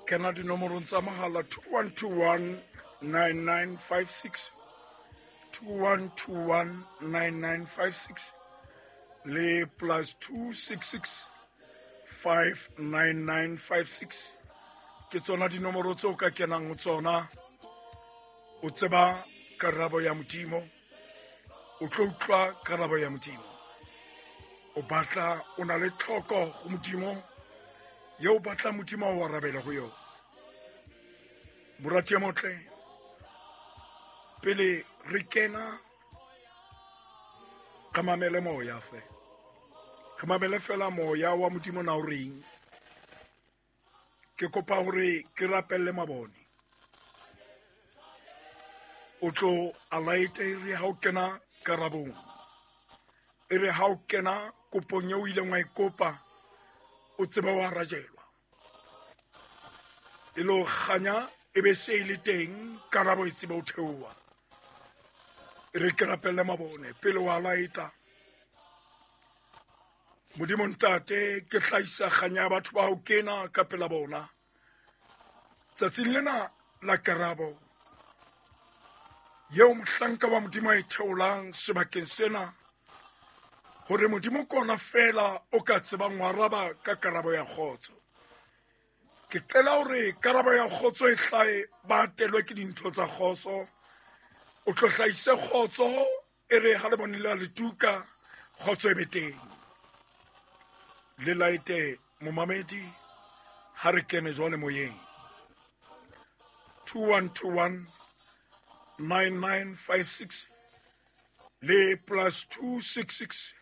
Kena dinomorong tsa mohala 2121 9956, 2121 9956 le plus 266 59956. Ke tsona dinomoro tseo ka kenang ho tsona. O tseba karabo ya Modimo, o tlo utlwa karabo ya Modimo. O batla o na le tlhoko go Modimo ye o batla Modimo o arabela go yona. Morati ya motle, pele re kena re mamele moya fe, re mamele fela moya wa Modimo na o reng. Ke kopa hore ke rapelle mabone, o tlo a laete e re ha o kena karabong, e re ha o kena kopong eo o ileng wa e kopa, o tsebe wa arajelwa. E lo kganya e be se e le teng, karabo e tsebe o theoha. E re ke rapelle mabone pele wa laeta. Modimo Ntate, ke hlahisa kganya ya batho ba ho kena ka pela bona tsatsing lena la karabo yeo mohlanka wa Modimo a e theolang sebakeng sena, hore Modimo kona fela o ka tsebang ho araba ka karabo ya kgotso. Ke qela hore karabo ya kgotso e hlae, ba atelwe ke dintho tsa kgotso. O tlo hlahise kgotso, e re ha le bone la letuka, kgotso e be teng. Le laete momamedi ha re kene jwale moyeng. 2121 9956 le plus 266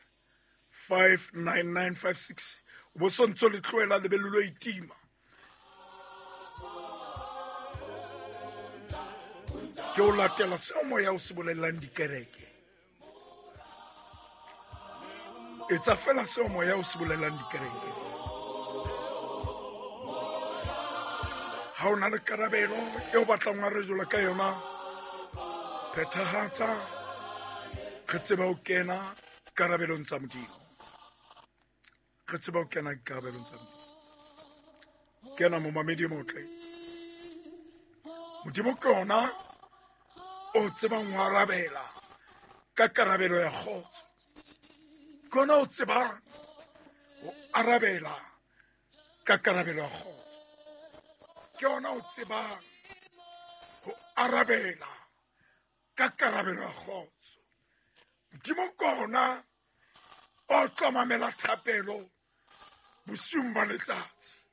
59956. O bo sontso le tlohela lebelo lo itima. Ke o latela seo moya o se bolellang dikereke. Etsa fela seo moya o se bolellang dikereke. Ha o na le karabelo e o batlang wa rejola ka yona, phethahatsa, re tseba ho kena karabelong tsa Modimo. Re tseba ho kena karabelong tsa Modimo. Kena momamedi motle. Modimo ke ona o tsebang ho arabela ka karabelo ya kgotso. Ke ona o tsebang ho arabela ka karabelo ya kgotso. Ke ona o tsebang ho arabela ka karabelo ya kgotso. Modimo ke ona o tlo mamela thapelo bosiung ba letsatsi.